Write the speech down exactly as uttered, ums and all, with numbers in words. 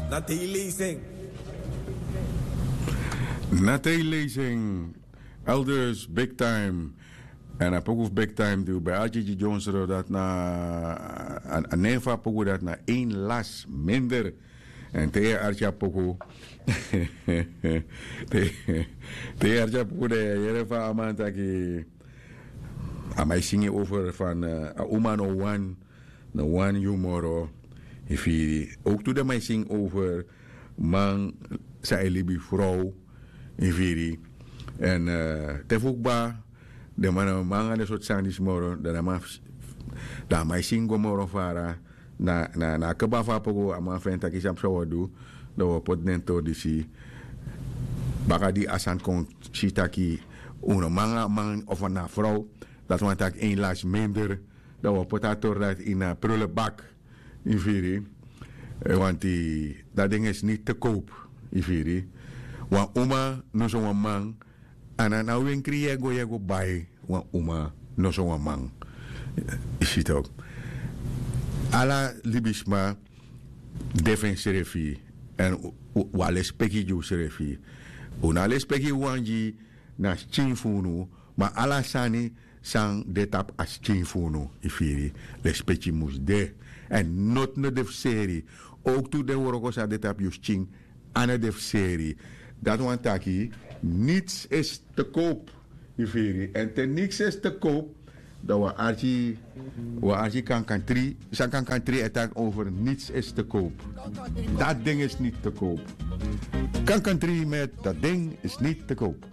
Na te yu leisi en. Na te yu leisi en. Elders big time. Èn a poku fu big time di wi ben arki gi dyonsro dati na a nen fu a poku dati na ein las minder. Èn te yu e arki a poku te yu e arki a poku dan yu e yere fa a man taki. A man e singi over fan a uma no wan no wan yu moro. Yu firi. Owktu den man e singi over man san e libi frow. Yu firi. Èn te fu kba den man na man nanga den sortu sani disi moro dan a man e singi go moro fara. Na a kba fu a poku a man feni taki san psa wi o du. Dan wi o poti den tori disi baka di a sani kon si taki un no man nanga a man of na a frow. Dati wani taki ein lasi minder. Dan wi o poti a tori dati ini a prulebak. Yu firi. Wanti dati dingi esi niti te kowpu. Yu firi. Wan uma noso wan man. A na na wenkri yu e go yu e go bai wan uma noso wan man. Yu si toki. Ala libisma de fu ensrefi. Èn wi a lespeki gi usrefi. Un no a lespeki wan gi na skin fu unu. Ma ala sani san de tapu a skin fu unu yu firi. Lespeki mus de. Èn noti no de fu seri. Owktu den wroko san de tapu yu skin a no de fu seri. Dati wani taki nits esi te kowpu. Yu firi èn te niks esi te kowpu. Dan wi a arki wi a arki kankantri san kankantri e taki over nits esi te kowpu. Dati ding esi niti te kowpu. Kankantri met dati ding esi niti te kowpu.